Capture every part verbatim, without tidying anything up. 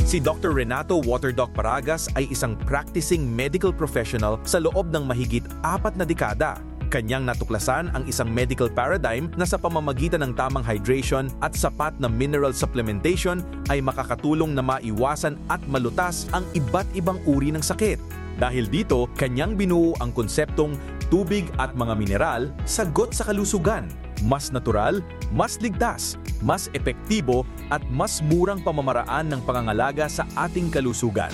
Si Doctor Renato Waterdoc Paragas ay isang practicing medical professional sa loob ng mahigit apat na dekada. Kanyang natuklasan ang isang medical paradigm na sa pamamagitan ng tamang hydration at sapat na mineral supplementation ay makakatulong na maiwasan at malutas ang iba't ibang uri ng sakit. Dahil dito, kanyang binuo ang konseptong tubig at mga mineral, sagot sa kalusugan. Mas natural, mas ligtas, mas epektibo, at mas murang pamamaraan ng pangangalaga sa ating kalusugan.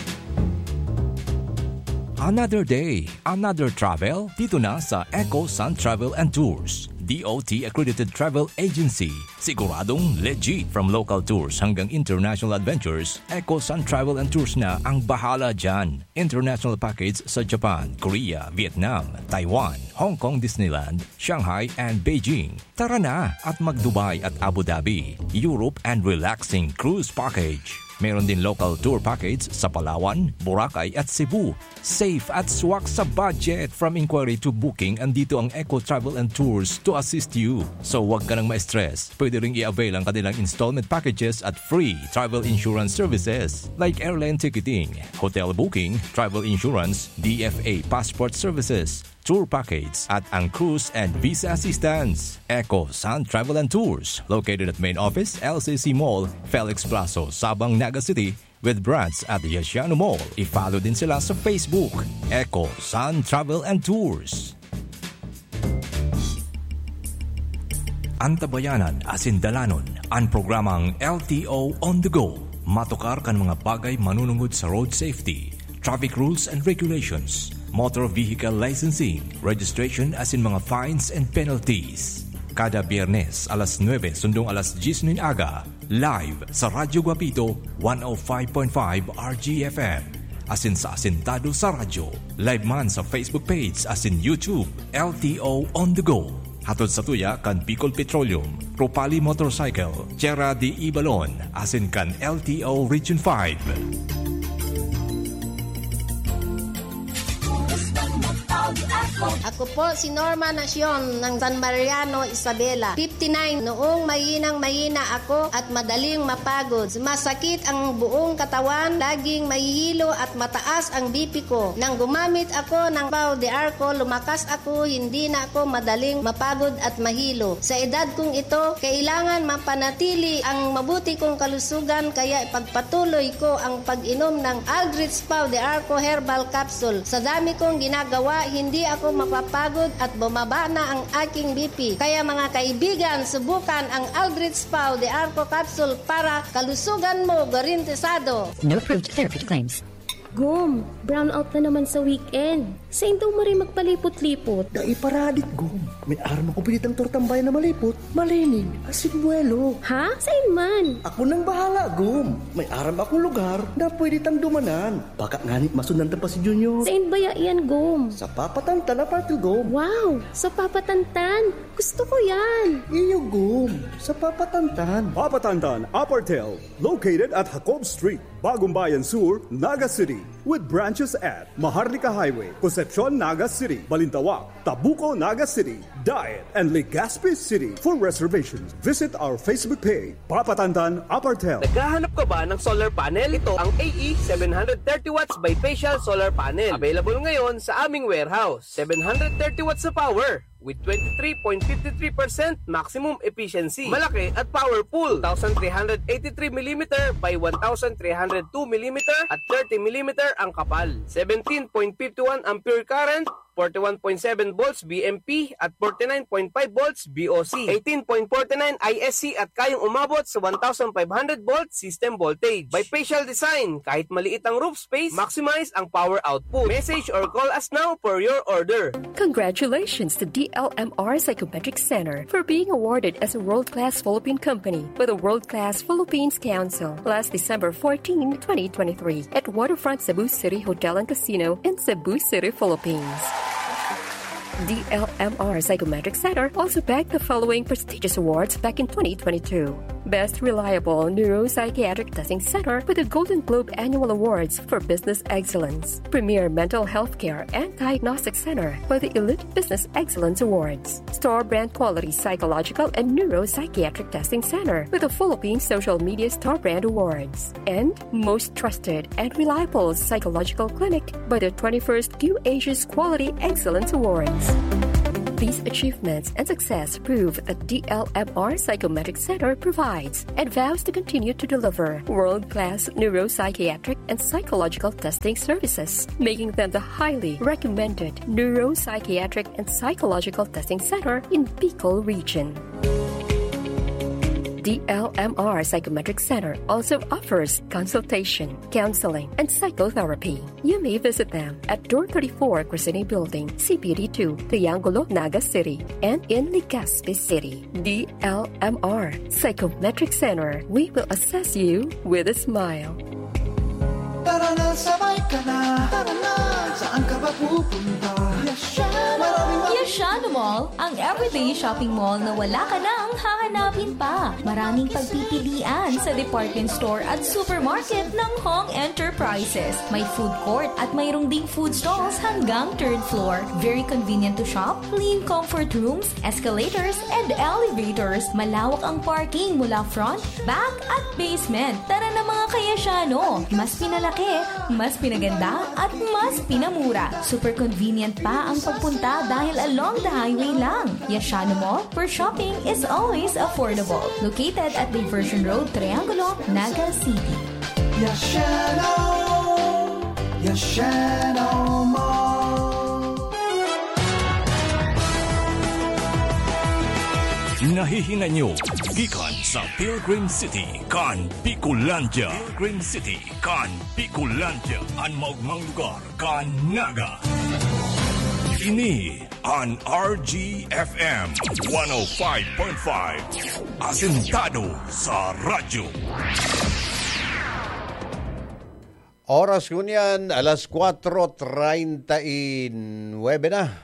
Another day, another travel, dito na sa Eco Sun Travel and Tours, D O T accredited travel agency. Siguradong legit. From local tours hanggang international adventures, Eco Sun Travel and Tours na ang bahala dyan. International package sa Japan, Korea, Vietnam, Taiwan, Hong Kong Disneyland, Shanghai, and Beijing. Tara na at mag-Dubai at Abu Dhabi, Europe, and relaxing cruise package. Meron din local tour package sa Palawan, Boracay, at Cebu. Safe at swak sa budget. From inquiry to booking, andito ang Eco Travel and Tours to assist you. So, wag ka nang ma-stress. Pwede ring i-avail ang kanilang installment packages at free travel insurance services like airline ticketing, hotel booking, travel insurance, D F A passport services, tour package, at ang cruise and visa assistance. Eco Sun Travel and Tours, located at main office, L C C Mall, Felix Plazo, Sabang, Naga City, with branch at Yasiano Mall. I-follow din sila sa Facebook, Eco Sun Travel and Tours. Antabayanan asin dalanon an programang L T O on the go. Matukar kan mga bagay manunungod sa road safety, traffic rules and regulations, motor vehicle licensing, registration asin mga fines and penalties. Kada Biyernes, alas nuebe sundong alas dyes nin aga, live sa Radyo Guapito, one oh five point five R G F M. Asin sa Asintado sa Radyo. Live man sa Facebook page asin YouTube, L T O On The Go. Hatod sa tuya kan Bicol Petroleum, Ropali Motorcycle, Tierra de Ibalon, asin kan L T O Region five. Ako po si Norma Nacion ng San Mariano, Isabela, fifty-nine. Noong mahinang-mahina ako at madaling mapagod, sumasakit ang buong katawan, laging mahihilo at mataas ang B P ko. Nang gumamit ako ng Pau de Arco, lumakas ako, hindi na ako madaling mapagod at mahilo. Sa edad kong ito, kailangan mapanatili ang mabuti kong kalusugan, kaya ipagpatuloy ko ang pag-inom ng Aldrich Pau de Arco Herbal Capsule. Sa dami kong ginagawa, hindi ako mapapagod at bumaba na ang aking B P. Kaya, mga kaibigan, subukan ang Aldrich Pau de Arco Capsule para kalusugan mo garantisado. No approved therapeutic claims. Gom, brownout na naman sa weekend. Sain daw maray magpalipot-lipot? Dai pa radit, Gom. May aram ako pinitang tortang bayan na malipot, malinig, asin buwelo. Ha? Sain man? Ako nang bahala, Gom. May aram akong lugar na pwede tang dumanan. Baka ngani masundan ta pa si Junior. Sain baya iyan, Gom? Sa Papa Tantan Apartel, Gom. Wow! Sa Papa Tantan! Gusto ko yan! Iyo, Gom. Sa Papa Tantan. Papa Tantan Apartel, located at Jacob Street, Bagumbayan Sur, Naga City, with branches at Maharlika Highway, Concepcion, Naga City, Balintawak, Tabuco, Naga City, Daet, and Legazpi City. For reservations, visit our Facebook page, Papa Tantan Apartel. Naghahanap ka ba ng solar panel? Ito ang A E seven hundred thirty watts bifacial solar panel. Available ngayon sa aming warehouse. Seven hundred thirty watts na power with twenty-three point fifty-three percent maximum efficiency. Malaki at powerful. Two thousand three hundred eighty-three millimeter by one thousand three hundred two millimeter at thirty millimeter ang kapal. Seventeen point fifty-one ampere current, forty-one point seven volts V M P at forty-nine point five volts V O C, eighteen point forty-nine I S C at kayang umabot sa one thousand five hundred volt system voltage. Bifacial design, kahit maliit ang roof space, maximize ang power output. Message or call us now for your order. Congratulations to D L M R Psychometric Center for being awarded as a world-class Philippine company by the World Class Philippines Council last December fourteen, twenty twenty-three, at Waterfront Cebu City Hotel and Casino in Cebu City, Philippines. The L M R Psychometric Center also bagged the following prestigious awards back in twenty twenty-two. Best Reliable Neuropsychiatric Testing Center with the Golden Globe Annual Awards for Business Excellence. Premier Mental Health Care and Diagnostic Center for the Elite Business Excellence Awards. Store Brand Quality Psychological and Neuropsychiatric Testing Center with the Philippine Social Media Store Brand Awards. And most trusted and reliable psychological clinic by the twenty-first Q Asia's Quality Excellence Awards. These achievements and success prove that D L M R Psychometric Center provides and vows to continue to deliver world-class neuropsychiatric and psychological testing services, making them the highly recommended neuropsychiatric and psychological testing center in Bicol region. D L M R Psychometric Center also offers consultation, counseling, and psychotherapy. You may visit them at Door thirty-four, Crescene Building, C P D two, Triangulo, Naga City, and in Legazpi City. D L M R Psychometric Center. We will assess you with a smile. Tara na, sabay ka na. Tara na, saan ka ba pupunta? Yashano! Maraming Yashano Mall, ang everyday shopping mall na wala ka nang hahanapin pa. Maraming pagpipilian sa department store at supermarket ng Hong Enterprises. May food court at mayroong ding food stalls hanggang third floor. Very convenient to shop, clean comfort rooms, escalators, and elevators. Malawak ang parking mula front, back, at basement. Tara na, mga ka-Yashano! Mas pinalaki, mas pinaganda, at mas pinamura. Super convenient pa ang pagpunta dahil along the highway lang. Yashano Mall, where shopping is always affordable. Located at Diversion Road, Triangulo, Naga City. Yashano! Yashano Mall! Nahihinay nyo gikan sa Pilgrim City kan Bicolandia. Pilgrim City kan Bicolandia, an maogmang lugar kan Naga. Ini an R G F M one oh five point five, asentado sa radyo. Oras ngunyan, alas kwatro treinta y nuebe na.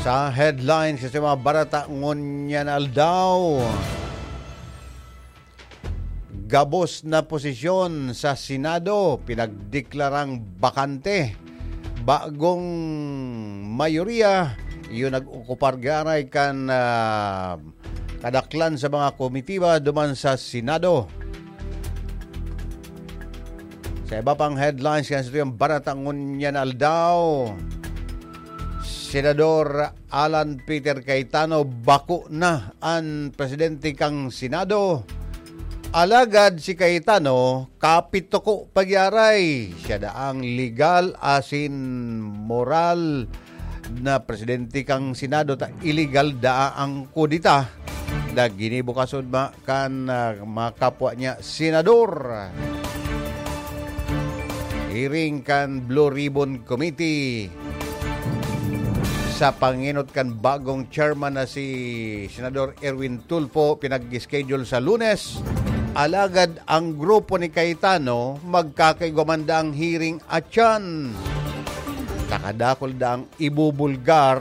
Sa headlines sa mga barata ngunyan na aldaw, gabos na posisyon sa Senado pinagdeklarang bakante. Bagong mayoriya, iyo nag-okupar gyaray kan, ah, kadaklan sa mga komitiba duman sa Senado. Sa iba pang headlines kan satuyang barata ngunyan na aldaw, Senador Alan Peter Cayetano, bako na an presidente kan Senado. Alagad si Cayetano, kapituko pagyaray. Siya daang legal asin moral na presidente kan Senado, ta illegal daa ang kudeta na ginibo kasudma kan, ah, mga kapwa niya senador. Hearing kan Blue Ribbon Committee sa pangenot kan bagong chairman na si Senador Erwin Tulfo, pinag-schedule sa Lunes. Alagad ang grupo ni Cayetano, magkakaigwa man daang hearing atyan. Takadakol daang ibubulgar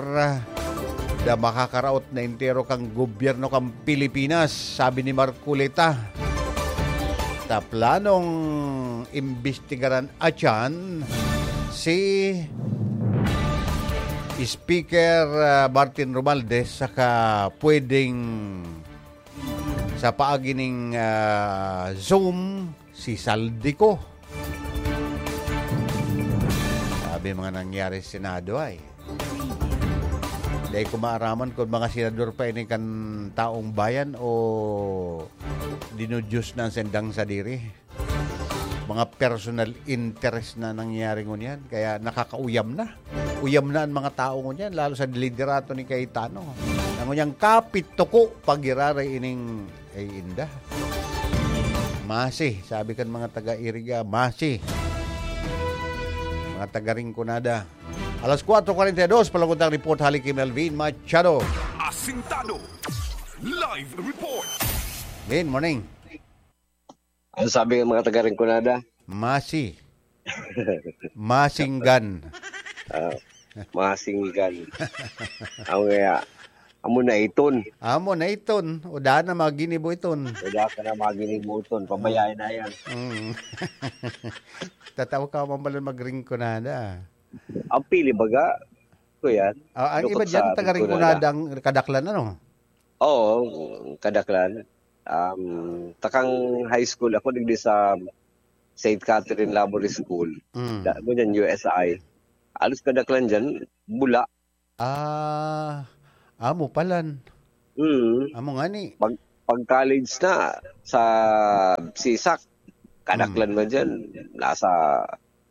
na makakaraot na entero kan gobyerno kan Pilipinas, sabi ni Marcoleta. Ta planong imbestigaran atyan si Speaker, ah, Martin Romualdez saka pwedeng sa paagi ning, ah, Zoom, si Zaldy Co. Sabi mga nangyari sa Senado ay. Dai ko maaraman kung mga senador pa ini kan taong bayan o dinudiyos na ang sendang sadiri. Mga personal interest na nangyari ngunyan, kaya nakakauyam na. Uyam na ang mga tao ngunyan, lalo sa liderato ni Cayetano. Ang ngunyan kapit tuko pag iraray ining ay inda. Masi, sabi kan mga taga-Iriga, masi. Mga taga-Rinconada. Alas kwatro kwarenta y dos, palagod ang report hali ki Melvin Machado. Asintado. Live report. Vin, morning. Ano sabi ng mga taga-Rinconada? Masi. Masinggan. Ah, masinggan. Ang kaya, amo na iton. Amo na iton. O daan na mga ginibo iton. Wala ka na maginibuton. Pabayaan na yan. Mm. Tataw ka man pala magringkunada. Ang pili baga, ko yan. Ah, ang Dukot iba dyan, sa taga Rinconada. Rinconada ang kadaklan, ano? Oo, kadaklan. Um, takang high school ako, digdi sa Saint Catherine Labour School. Mm. Da, mo dyan, U S I. Alos kadaklan dyan, bula. Ah, amo palan. Mm. Amo nga ni. Pag, pag college na, sa sisak, kadaklan Mm. man dyan. Nasa,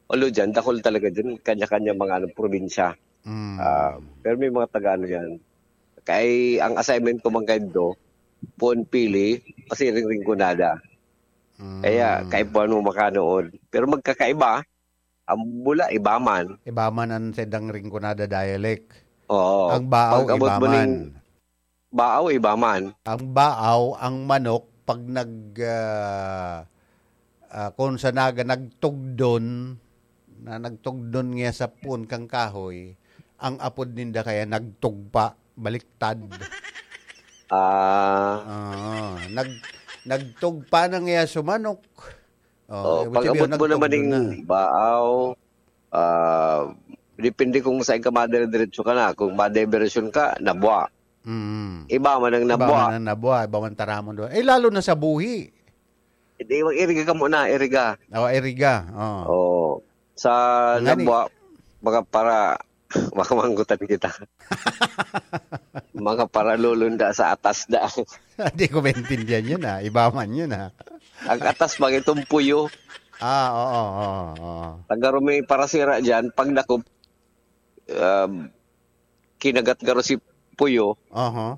although dyan, dakol talaga dyan. Kanya-kanya mga ano, probinsya. Mm. Ah, pero may mga taga ano yan. Kay ang assignment ko man kayo, puon pili, pasiring-ringkunada. Mm. Kaya, kaipuhan mo makanood. Pero magkakaiba, ang bula, iba man. Iba man ang sedang ringkunada dialect. Oo. Ang baaw, Pag abot iba mo ning man. Baaw, iba man. Ang baaw, ang manok, pag nag, ah, ah, kung sa Naga, nagtugdon, na nagtugdon niya sa puon kang kahoy, ang apod ninda kaya nagtugpa, baliktad. Ah. Oo, nag-, nagtugpa na niya sa manok. Oh, Oh, eh, pag which abot mo naman nagtugdon na. Baaw, ah, depende kung saan ka madire-diretso ka na. Kung madibersyon ka, nabwa. Mm. Iba man ang Iba nabwa. man ang nabwa, iba man taramon doon. Eh, lalo na sa buhi. Hindi, mag-iriga ka muna, iriga. Oh, iriga. Oh. Oo. Sa Ngani. Nabwa, baka para, baka manggutan kita. Mga paralulunda sa atas da. Hindi ko maintindihan yun, ah. Iba man yun, ah. Ang atas, mga itong puyo. Ah, oo, oo, oo. Pag garo may parasira dyan, pag dakop, um, kinagat garo si puyo, Aha.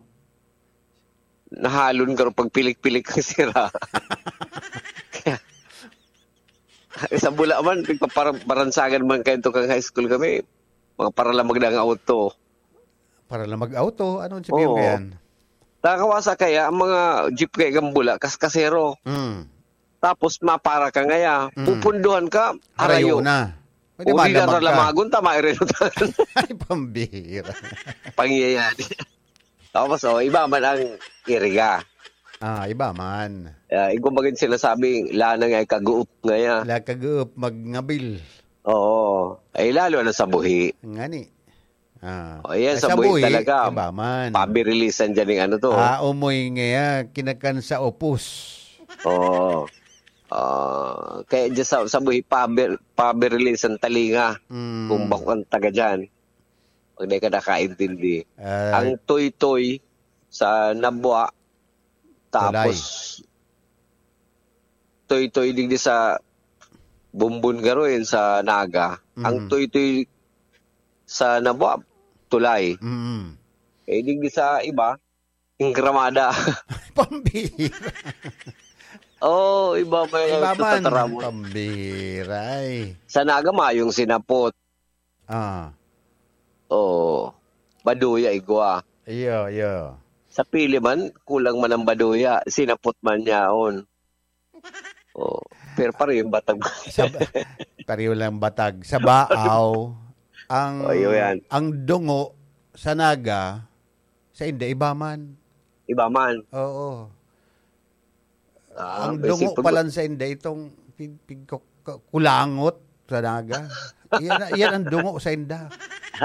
nahalon garo pagpilik-pilik ang sira. Kaya, sa bula man, nagpapara-, baransagan man kayo tukang high school kami. Mga paralamag na ang auto. Paralamag auto? Ano ang sabihin mo Oo. yan? Nakakawasa kaya ang mga jeep kaya kang bula, kaskasero. Mm. Tapos mapara ka ngaya, Mm. pupunduhan ka, Harayo harayo. na. Pwede O di malamag ka. Ralamagon, tama, irenotan. Ay, pambihira. Pangyayari. Tapos, oh, iba man ang iriga. Ah, iba man. Ah, yung kumbaga yung sinasabing, "Lanang ay kaguop ngaya." La kaguop, magngabil. Oo. Ay, lalo na sa buhi. Ngani. Ah. O, yan, Ay, sa sa buhi buhi, talaga. iba man. Pabirilisan dyan yung ano to. Ah, umoy ngaya, kinakan sa upos. Oo. Ah, kaya dyan sa, sa buhi, pabir-, pabirilisan talinga. Mm. Kung bako ang taga dyan. Pag di ka nakaintindi. Ah. Ang toy-toy sa nabwa, Tulay. tapos toy-toy digdi sa bumbon garo, yun sa Naga. Ang Mm. toy-toy sa nabwa, tulay. Mm. Eh, digdi sa iba, yung gramada. Pambihira. Oo, iba may Iba man, tataramon. Pambihira, eh. Sa Naga, mayong sinapot. Ah. Oo. Baduya, igwa. Iyo, iyo. Sa pili man, kulang man ang baduya. Sinapot man yaon. Oo. Pero pareho yung batag. Sa ba-, pareho lang batag. Sa baaw, ang, Oh, yun yan. ang dungo sa Naga, sa India, iba man. Iba man. Oo. Ah, Ang dungo basic pag- pala sa India, itong pig-, pig-, ku-, ku-, kulangot sa Naga. Yan, yan ang dungo sa India.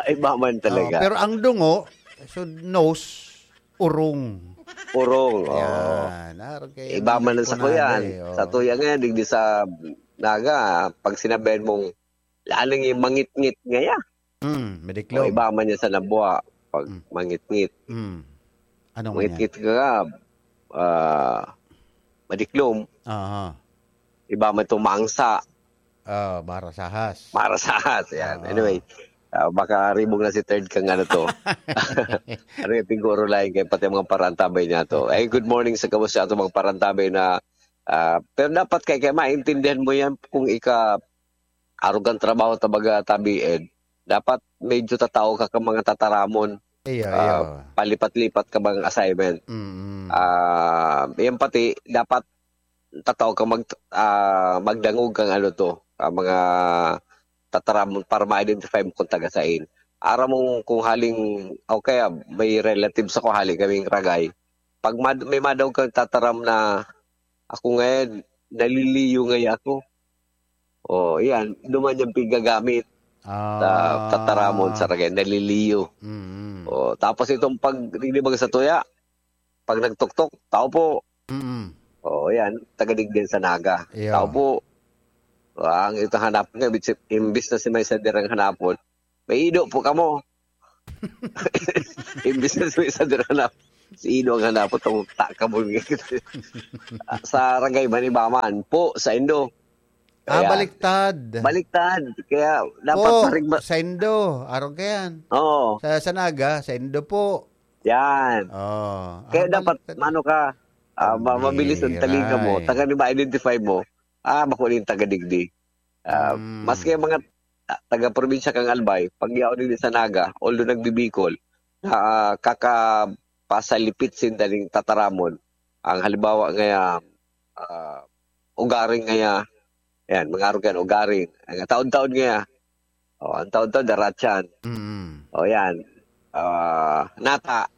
Iba man talaga. Oo, pero ang dungo, so nose, urong. Urong, oo. Yan. Ah, okay. Iba man ang Kunada sakuyan. eh, oo. Sa tuya ngayon, digdi sa Naga, pag sinabihan mong, "Lalang yung mangit-ngit ngaya." Mm, O, mediklom. iba man yan sa nabwa, pag Mm. mangit-ngit. Mm. Ano man yan? Mangit-ngit ka, ah, madiklom. Aha. Iba man itong mangsa. Ah, marasahas. Marasahas, yan. Ah. Anyway, ah, baka ribong na si third kang ano to. Ano yung piguro lain kayo, pati mga parantabay niya to. Ay, good morning sa gabos sa atong mga parantabay na, ah, pero dapat kay, kay maintindihan mo yan kung ika, arog ang trabaho ta baga tabi, Ed. Dapat medyo tatao ka ka mga tataramon. Iyo, Ah, iyo. palipat-lipat ka bang assignment. Mm. Ah, yan pati, dapat tatao ka mag-, ah, magdangog kang ano to. ah, mga tataramon para ma-identify mo kung taga sain. Aram mo kung haling, o kaya may relatives ako, hali kaming Ragay. Pag mad-, may madaog kang tataram na, "Ako ngayon, naliliyo ngayon ako." Oh, yan. Duman yung pigagamit sa Ah. tataramon sa Ragay, naliliyo. Mm. Oh, tapos itong pag, di ba, sa tuya, pag nagtuktok, "Tao po." Mm. Oh, yan. Taga digdi sa Naga. Iyo. "Tao po." Ang ito hanap nga, imbis, imbis na si may sadirang hanapon, "May ido po kamo." Imbis na si may sadirang hanap, si ido ang hanapon, tong takabon nga. Sa Ragay, manibaman, "Po, sa indo." Ah, Ayan. baliktad. Baliktad. Kaya dapat Po, parigma- sa indo. Arog ka yan. Oo. Sa, sa Naga, sa indo po. Yan. Oh. Kaya Ah, dapat, baliktad. mano ka, ah, ma-, mabilis ang Ang talinga mo. biray. Taga ni ma-identify mo. Ah, bako nin taga digdi. Ah, Mm. maski ang mga, ah, taga-probinsya kang Albay, pag yaon din sa Naga, although nagbibikol, ah, kakapasalipit sinda ning tataramon. Ang halimbawa ngaya, ah, ugaring ngaya, yan, mga arog yan, ugaring. Ang taon-taon ngaya, oh, ang taon-taon, daratyan. Mm. O yan, ah, nata.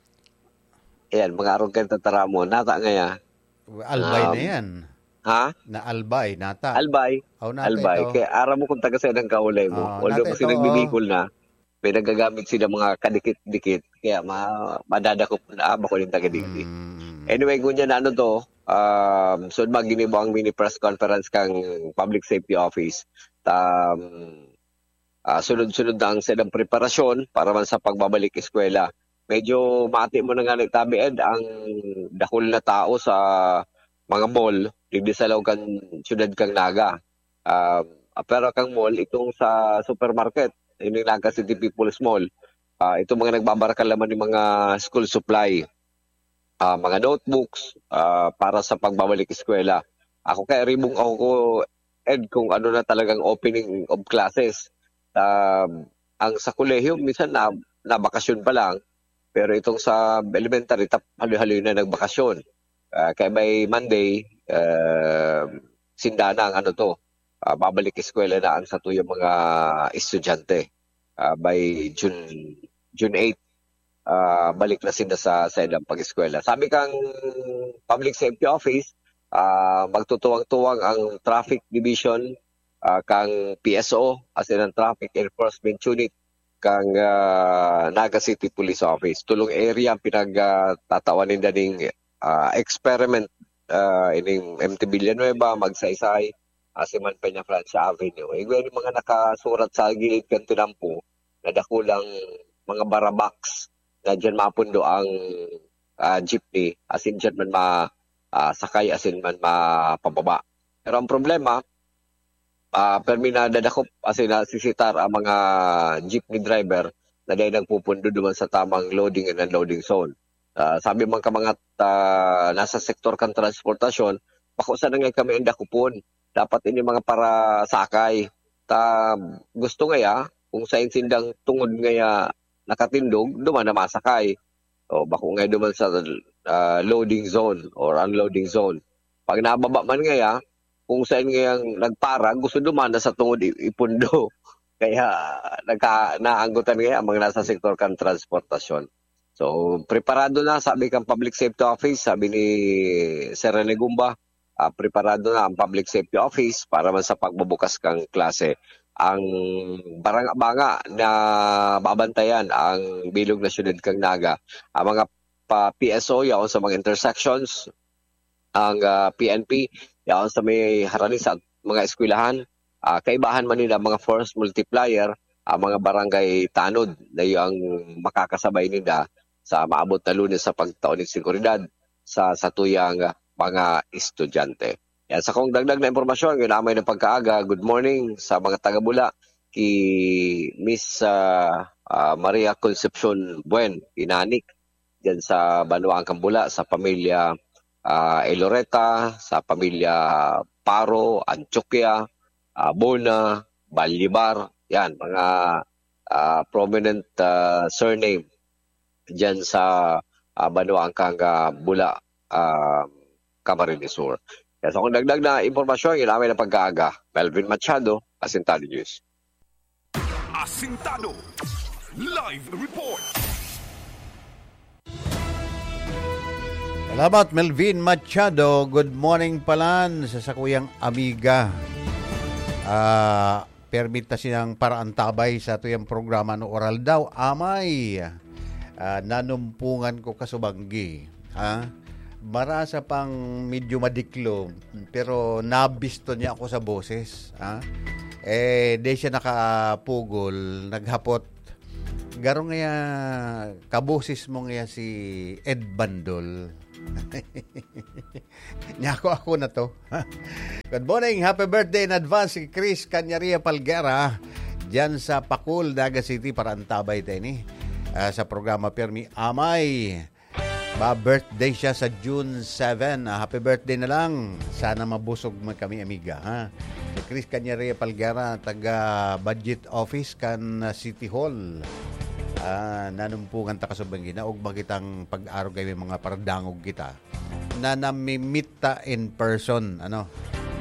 Yan, mga arog yan, tataramon. Nata ngaya. Albay na Um, yan. Ha? Na Albay, nata. Albay. Aw, nata Albay. ito. Kaya aram mo kung taga saan ang kaulay mo. Oo, Although nata kasi ito, nagbibikol na, may nagagamit sila mga kadikit-dikit. Kaya ma-, madadakop na, ah, bako yung taga digdi. Mm. Anyway, ngunyan na ano to, um, so maginibo ang mini press conference kang Public Safety Office. Um, ah, sunod-sunod na ang saidang preparasyon para man sa pagbabalik eskwela. Medyo mati mo na nga nagtabi, Ed, ang dakul na tao sa mga mall, digdi sa laog kan siyudad kang Naga. Ah, ah, pero kang mall, itong sa supermarket, yung Naga City People's Mall, ah, itong mga nagbabarakal naman yung mga school supply, ah, mga notebooks, ah, para sa pagbabalik eskwela. Ako kaya ribong ako, Ed, kung ano na talagang opening of classes. Um, ang sa kolehiyo, minsan na, nabakasyon pa lang, pero itong sa elementary, tap-, haloy-haloy na nagbakasyon. Ah, kaya may Monday, ah, sinda na ang ano to, ah, babalik eskwela na ang satuyang mga estudyante. Ah, by June, June eight, ah, balik na sinda sa, sa ilang pag-eskwela. Sabi kang Public Safety Office, ah, magtutuwang-tuwang ang Traffic Division, ah, kang P S O, as in ang Traffic Enforcement Unit, kang, ah, Naga City Police Office. Tulong area ang pinag, ah, tatawan ninda ning, ah, experiment, ah, ining M T Villanueva, Magsaysay, asin man Peñafrancia Avenue. Igwa yung mga nakasurat sa gilid kan tinampo na dakulang mga barabaks na diyan mapundo ang, ah, jeepney, asin diyan man ma-, ah, sakay, asin man mapababa. Pero ang problema, ah, permi na dadakop, asin nasisitar ang mga jeepney driver na dahil nagpupundo duman sa tamang loading and unloading zone. Ah, sabi man ka mga, ah, nasa sektor kan transportasyon, bako sana nga kami ang dakopon. Dapat ini mga parasakay. Ta, gusto ngaya, kung sain sindang tungod ngaya nakatindog, duman na masakay. O, bako ngaya duman sa, ah, loading zone or unloading zone. Pag nababa man ngaya, kung sain ngayang nagpara, gusto duman na sa tungod i-, ipundo. Kaya nagka-, naanggotan ngaya ang mga nasa sektor kan transportasyon. So, preparado na, sabi kang Public Safety Office, sabi ni Sir Rene Gumba, ah, preparado na ang Public Safety Office para man sa pagbubukas kang klase. Ang baranga-banga na babantayan ang bilog na siyudad kang Naga, ang mga pa P S O yaon sa mga intersections, ang, ah, P N P yaon sa may harani sa mga eskwelahan, ah, kaibahan man nila mga force multiplier, ang mga barangay tanod na yung makakasabay nila sa maabot na Lunes sa pagtao nin seguridad sa satuyang mga estudyante. Yan, sa kong dagdag na impormasyon, ginamay ng pagkaaga, good morning sa mga taga-Bula, ki Miss, ah, ah, Maria Concepcion Buen, Inanik, dyan sa Banwaan kan Bula, sa pamilya, ah, Eloreta, sa pamilya Paro, Antioquia, ah, Bona, Balibar, yan, mga, ah, prominent, ah, surname dyan sa, ah, Banwaan kan, ah, Bula, ah, Camarines Sur. Yan, sa kong dagdag na impormasyon, ginamay ng pagkaaga. Melvin Machado, Asintado News. Asintado Live Report. Salamat, Melvin Machado. Good morning palan sa sakuyang amiga. Ah, permit ta siyang paraantabay sa tuyang programa no oral daw. Amay, ah, nanumpungan ko kasubanggi. Ha? Marasa pang medyo madiklo, pero nabisto niya ako sa boses. Ha? Eh, di siya nakapugol, naghapot. Garo ngaya, kaboses mo ngaya si Ed Bandol. Nyako ako na to. Good morning, happy birthday in advance kay Chris Canyaria Palguera. Diyan sa Pakul, Naga City, paraantabay ta ini. Ah, sa programa Pirmi Amay. Ba, birthday siya sa June seven. Ah, happy birthday na lang. Sana mabusog man kami, amiga, ha? Si Chris Canyaria Palguera, taga Budget Office kan, ah, City Hall. Ah, nanumpungan ta kasubanggi, naog ba kitang pag-arog kay may mga paradangog kita na namimit ta in person, ano?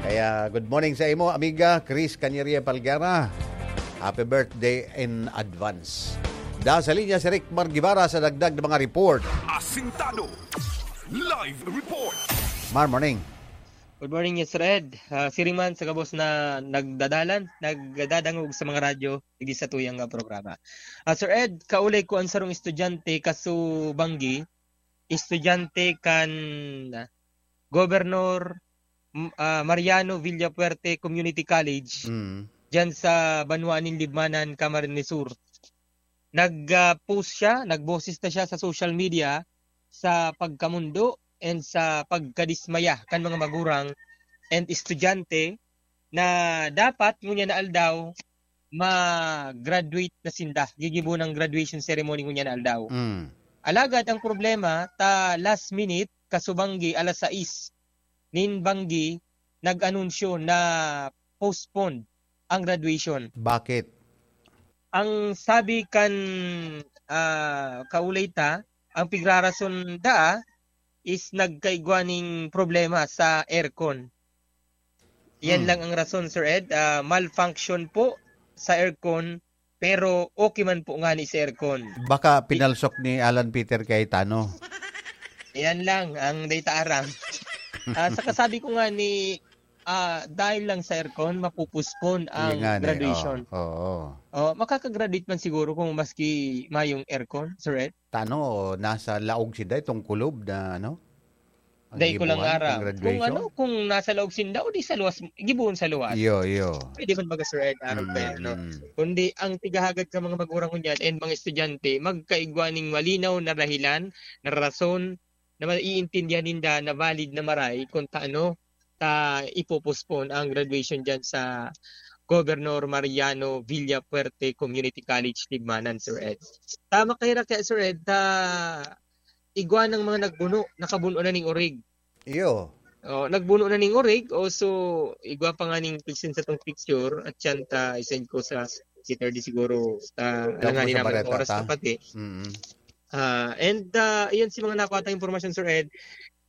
Kaya, good morning sa imo, amiga Chris Canyaria Palguera. Happy birthday in advance. Da sa linya si Rick Mar Guevara sa dagdag na mga report. Asintado Live Report. Mar, morning. Good morning, yes, Red. Ah, siring man sa gabos na nagdadalan, nagdadangog sa mga radyo, digdi sa tuyang nga programa. Ah, Sir Ed, kaulay ko ang sarong estudyante kasubanggi, estudyante kan Governor, m-, ah, Mariano Villafuerte Community College, Mm. diyan sa banwaan nin Libmanan, Camarines Sur. Nag, ah, post siya, nagboses na siya sa social media sa pagkamondo and sa pagkadismaya kan mga magurang and estudyante na dapat ngunyan na aldaw ma-graduate na sinda. Gigibo ng graduation ceremony ngunyan na aldaw. Mm. Alagad ang problema, ta last minute, kasubanggi alas sais nin banggi, nag-anunsyo na postpone ang graduation. Bakit? Ang sabi kan, ah, kaulay ta, ang pigrarason daa is nagkaigwa ning problema sa aircon. Yan Hmm. lang ang rason, Sir Ed. Ah, malfunction po sa aircon, pero okay man po ngani sa aircon. Baka pinalsok ni Alan Peter Cayetano. Yan lang ang data aram. Ah, saka sabi ko nga ni, ah, dahil lang sa aircon, mapupuspon ang Yan nga ni, graduation. Oo, oo. Oh, makakagraduate man siguro kung maski mayong aircon, Sir Ed. Tano, nasa laog sinda itong kulob na, ano? Ang Dai ko lang gibuhan, aram. ang Kung graduation? ano, kung nasa laog sinda o di sa luwas, gibuhon sa luwas. Iyo, iyo. Pwede man baga, Sir Ed, aram Mm, pa yan, no? mm. Kundi ang tigahagad sa mga magurang ngunyan and mga estudyante, magkaigwa ning malinaw na dahilan, na rason, na maiintindihan ninda na valid na maray kung taano ta ipopospon ang graduation diyan sa Governor Mariano Villafuerte Community College, Libmanan, Sir Ed. Tama kayo ra kaya, Sir Ed, ta igwa ng mga nagbuno, nakabuno na ning orig. Iyo. Oh, nagbuno na ning orig, o so, igwa pa nga ning picture sa tong picture, at yan ta, isend ko sa Saturday siguro, ta, Damo alanganin sa naman ang bareta oras ta. na pati. Mm. Ah, and, ah, iyan si mga nakuha tayong impormasyon, Sir Ed.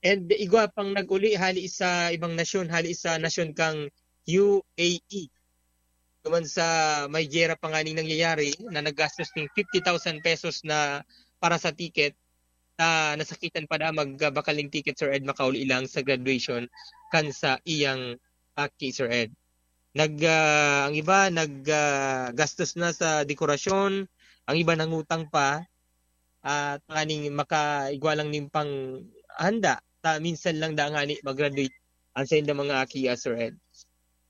And igwa pang nag-uli, hali sa ibang nasyon, hali sa nasyon kang U A E. Duman sa may giyera pa nga ning nangyayari na naggastos ning fifty thousand pesos na para sa ticket, ah, nasakitan pa na magbakal ning ticket, Sir Ed, makauli lang sa graduation kan sa iyang aki, Sir Ed. Nag, ah, ang iba nag, ah, gastos na sa dekorasyon, ang iba nangutang pa, at nganing makaigwa lang nin panghanda, ta minsan lang da ngani mag-graduate ang saindang mga aki, ah, Sir Ed.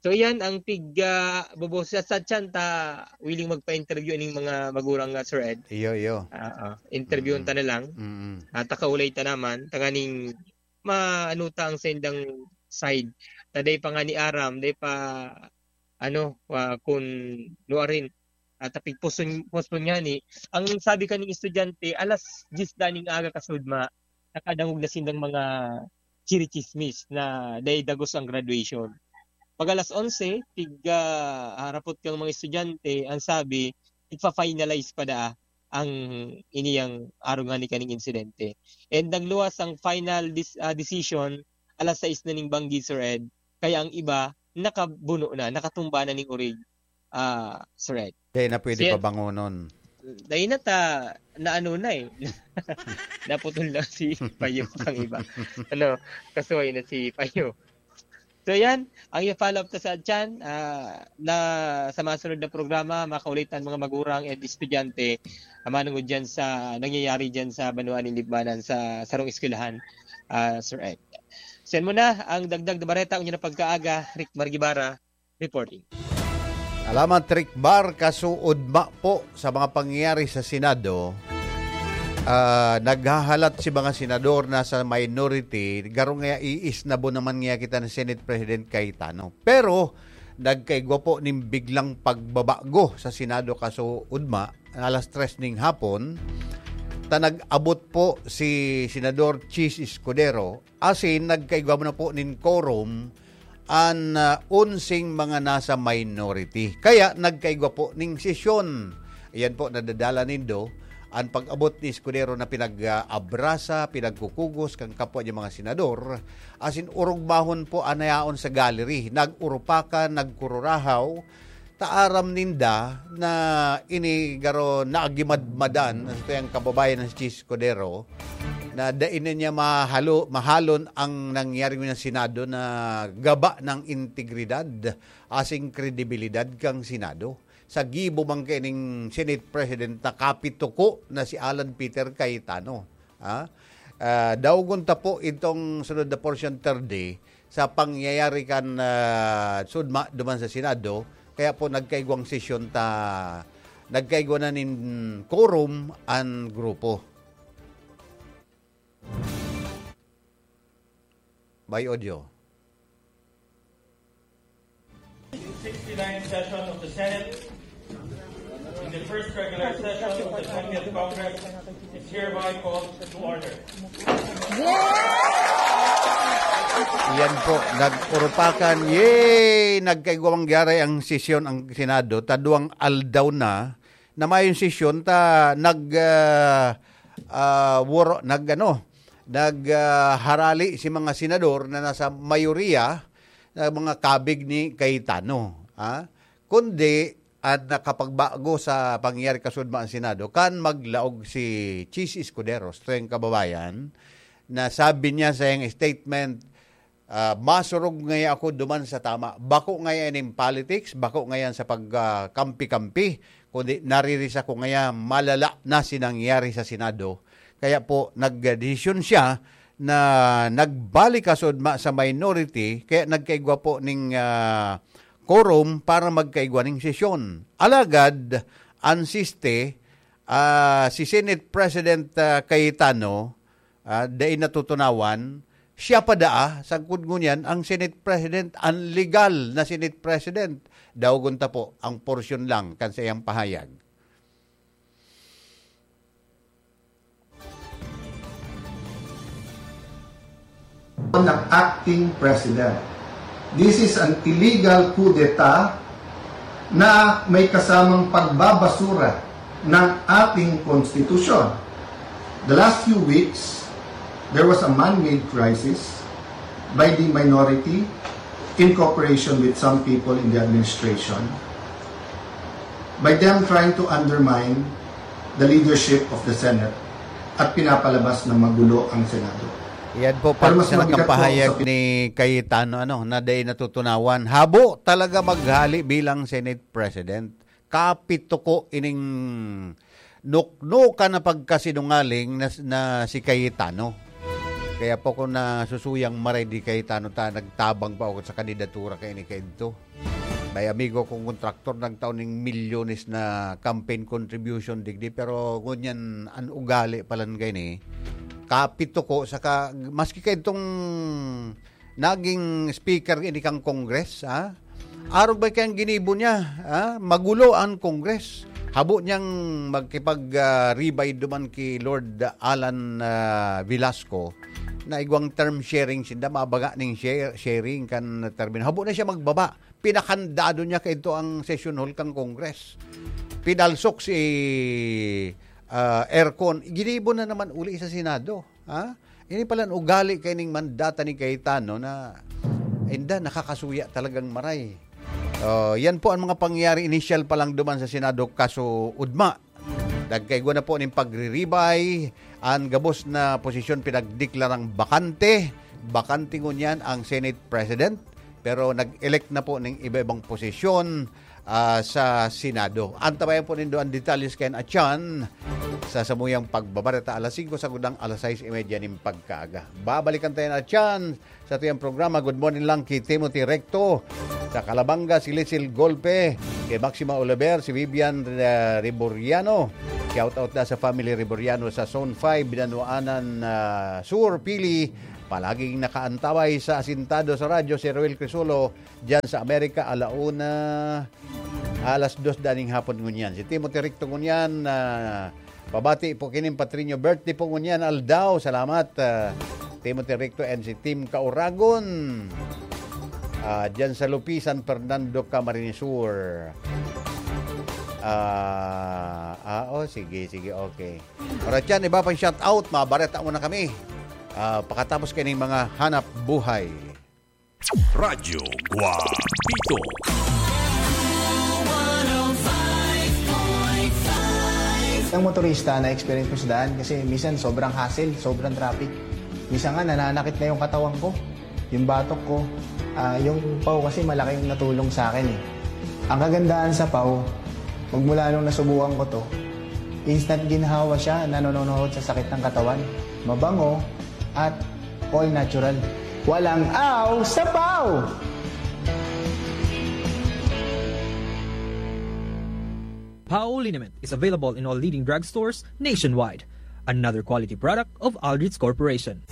So, iyan ang pig, ah, bobos sa, sa tiyan ta willing magpa-interview ning mga magurang nga, Sir Ed. Iyo, iyo. Oo, interviewon Mm. ta na lang. Mm. At ta kaulay ta naman, tanganing maano ta ang saindang side. Ta dai pa ngani aram, dai pa, ano, ah, kun nuarin. At ta pigpospon-, postpone ngani. Ang sabi kaning estudyante, alas diyes da ning aga kasudma, nakadangog na sindang mga chirichismis na dai dagos ang graduation. Pag alas onse, pig, ah, harapot kang mga estudyante, ang sabi, igfa-finalize pa daa ang iniyang arog ngani kaning insidente. And nagluwas ang final dis-, ah, decision, alas sais na ning banggi, Sir Ed. Kaya ang iba, nakabuno na, nakatumba na ning orig. ah, Sir Ed. Dai na pwede Siya pabangonon. Dai na ta, na ano na eh. Naputol na si Payo ang iba. Ano, kasuway na si Payo. So yan, ang i-follow up ta sa atyan, ah, na sa masunod na programa, makaulitan mga magurang and estudyante, ah, manungod dyan sa nangyayari dyan sa banwaan ni Libmanan sa sarong eskwelahan, ah, Sir Ed. So yan muna, ang dagdag na bareta, unya na pagkaaga, Rick Margibara, reporting. Salamat, Rick Bar. Kasuod ma po sa mga pangyayari sa Senado. Ah, naghahalat si mga senador na sa minority, garo nga iisnabo naman nga kita ni Senate President Cayetano. Pero, nagkaigwa po ning biglang pagbabago sa Senado kasuod ma, alas tres ning hapon, ta nag-abot po si Senador Chiz Escudero, asin nagkaigwa na po nin quorum an, ah, onseng mga nasa minority. Kaya nagkaigwa po ning sesyon. Ayan po, nadadala nindo an pag-abot ni Escudero na pinag-abrasa, pinagkukugos kan kapwa niya mga senador, asin orog mahon po an yaon sa gallery. Nag-urupakan, nagkururahaw, ta aram ninda na ini garo naagimadmadan sa tuyang kababayan na si Chiz Escudero, na dai na niya mahalo-, mahalon ang nangyari sa Senado na gaba ng integridad asin kredibilidad kan Senado. Sa gibo man kaining Senate President na kapituko na si Alan Peter Cayetano. Ha? Ah, daugon ta po itong sunod na portion, third day, sa pangyayari kan, ah, sudma duman sa Senado. Kaya po nagkaigwang sesyon ta, nagkaigwa na nin quorum an grupo. By audio. sixty-ninth session of the Senate, in the first regular session of the twentieth Congress, is hereby called to order. Yan po, nag-urupakan. Yay! Nagkaigwang gyaray ang sesyon ang Senado. Taduang aldaw na na mayong sesyon ta nag, ah, ah, woro-, nag, ano, nag, ah, harali si mga senador na nasa mayoriya na mga kabig ni Cayetano, ah. Kundi, at nakapagbago sa pangyayari kasudma ang Senado, kan maglaog si Chiz Escudero, sa tuyang kababayan, na sabi niya sa iyang statement, ah, "Masurog ngaya ako duman sa tama. Bako ngaya nin politics, bako ngayan sa pag, ah, kampi-kampi, kundi naririsa ko ngaya malala na si nangyari sa Senado." Kaya po, nagdesisyon siya na nagbalik kasudma sa minority, kaya nagkaigwa po ning, ah, quorum para magkaigwa ning sesyon. Alagad, ansiste, ah, si Senate President, ah, Cayetano, ah, dai natutunawan, siya pa daa, sagkod ngunyan, ang Senate President, ang legal na Senate President. Daogon ta po ang porsyon lang kan sa iyang pahayag. Ng acting president. This is an illegal coup d'etat na may kasamang pagbabasura ng ating konstitusyon. The last few weeks, there was a man-made crisis by the minority in cooperation with some people in the administration, by them trying to undermine the leadership of the Senate at pinapalabas na magulo ang Senado. Yan po, Pero mas pati sa mabigat po nakapahayag sa ni Cayetano, ano, na dai natutunawan. Habo talaga maghali bilang Senate President. Kapituko ining nuknukan na pagkasinungaling na, na si Cayetano. Kaya po ko nasusuyang maray di Cayetano ta, nagtabang pa ako sa kandidatura kay ni Kento. May amigo kong kontraktor nagtao ning milyones na campaign contribution digdi, pero ngunyan an ugali palan gani, kapituko, saka maski kaidtong naging speaker ini kan Congress, ha? Arog ba kayang ginibo niya, ha? Magulo ang Congress. Habo niyang magkipag, ah, ribay duman ki Lord Alan, ah, Velasco na igwang term sharing sinda, mabaga ning share, sharing kan termino. Habo na siya magbaba. Pinakandado niya kaidto ang session hall kan Congress. Pinalsok si, ah, aircon. Ginibo na naman uli sa Senado. Ha? Ini pala an ugali kaining mandata ni Cayetano na, inda, nakakasuya talagang maray. Oh, yan po ang mga pangyayari, inisyal pa lang duman sa Senado, kaso ugma, nagkaigwa na po ning pagriribay, ang gabos na posisyon pinagdeklarang bakante. Bakante ngunyan ang Senate President, pero nag-elect na po ning iba-ibang posisyon, ah, sa Senado. Antabayan po nindo ang detalles kayan atyan sa samuyang pagbabareta alas singko sagud nang alas sais y media nin pagkaaga. Babalikan ta yan atyan sa tuyang programa. Good morning lang ki Timothy Recto sa Calabanga, si Lizel Golpe, kay Maxima Oliver, si Vivian, ah, Reboriano. Shout out na sa family Reboriano sa Zone five, Binanuanan, ah, Sur, Pili. Palaging nakaantabay sa Asintado sa Radyo, si Roel Crisolo, diyan sa Amerika, ala una, alas dos daning hapon ngunyan. Si Timothy Recto ngunyan, ah, pabati po kining Patrinyo birthday po ngunyan, aldaw. Salamat, ah, Timothy Recto and si Team Kauragon. Ah, diyan sa Lupi, San Fernando, Camarines Sur. Ah, ah, oh, sige, sige, okay. Alright yan, iba pang shout out, mabareta muna kami. Ah, pakatapos kaning mga hanap buhay. Radyo Guapito. Ang motorista na experience ko sa daan kasi minsan sobrang hassle, sobrang traffic. Minsan nga nananakit na yung katawan ko, yung batok ko. Ah, yung pau kasi malaking natulong sa akin eh. Ang kagandahan sa pau, magmula nung nasubukan ko to, instant ginhawa siya, nanononohod sa sakit ng katawan. Mabango at all natural. Walang aw sa pau! Pau liniment is available in all leading drugstores nationwide. Another quality product of Aldrich Corporation.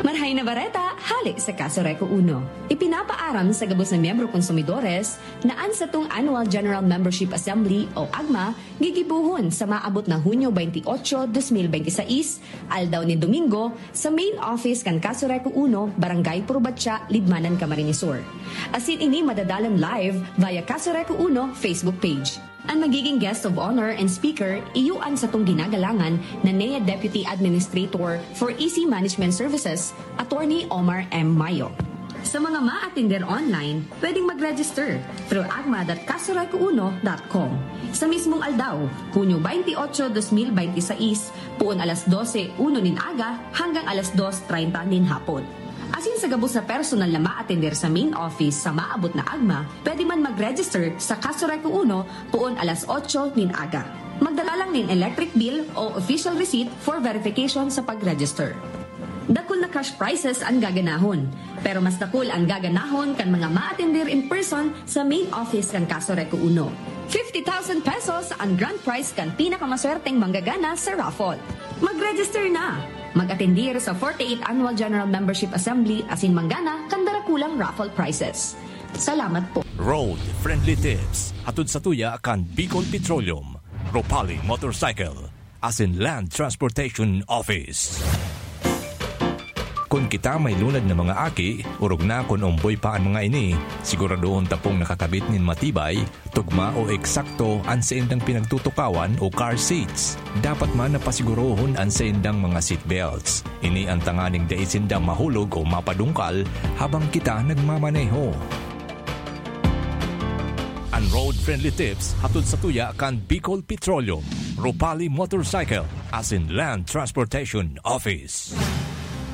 Marhay na bareta, hale sa Kaso Reco Uno. Ipinapaaram sa gabos na miyembro konsumidores na an satong Annual General Membership Assembly o agma gigibohon sa maabot na Hunyo twenty-eight, twenty twenty-six, aldaw nin Domingo, sa main office kan Kaso Reco Uno, Barangay Purbatya, Libmanan, Camarines Sur. Asin ini madadalan live via Kaso Reco Uno Facebook page. An magiging guest of honor and speaker, iyo an satong ginagalangan na N E A Deputy Administrator for E C Management Services, Attorney Omar M Mayo. Sa mga maatender online, pwedeng mag-register through agma dot kasoreco uno dot com. Sa mismong aldaw, Hunyo twenty-eight, twenty twenty-six, puon alas dose uno nin aga hanggang alas dos treinta nin hapon. Asin sa gabos na personal na maatender sa main office sa maabot na agma, pwede man mag-register sa Kaso Reco Uno puon alas otso nin aga. Magdala lang nin electric bill o official receipt for verification sa pag-register. Dakul na cash prizes an gaganahon, pero mas dakul an gaganahon kan mga maatender in person sa main office kan Kaso Reco Uno. Fifty thousand pesos an grand prize kan pinakamaswerteng manggagana sa raffle. Mag-register na! Mag-atendir sa forty-eighth Annual General Membership Assembly asin manggana kan darakulang raffle prizes. Salamat po. Road Friendly Tips, hatod sa tuya kan Bicol Petroleum, Ropali Motorcycle, asin Land Transportation Office. Kun kita may lunad na mga aki, orog na kun omboy pa an mga ini, siguradohon ta pong nakakabit nin matibay, tugma o eksakto an saindang pinagtutukawan o car seats. Dapat man na pasigurohon an saindang mga seat belts. Ini an tanganing dai sinda mahulog o mapadungkal habang kita nagmamaneho. An Road Friendly Tips hatod sa tuya kan Bicol Petroleum, Ropali Motorcycle, asin Land Transportation Office.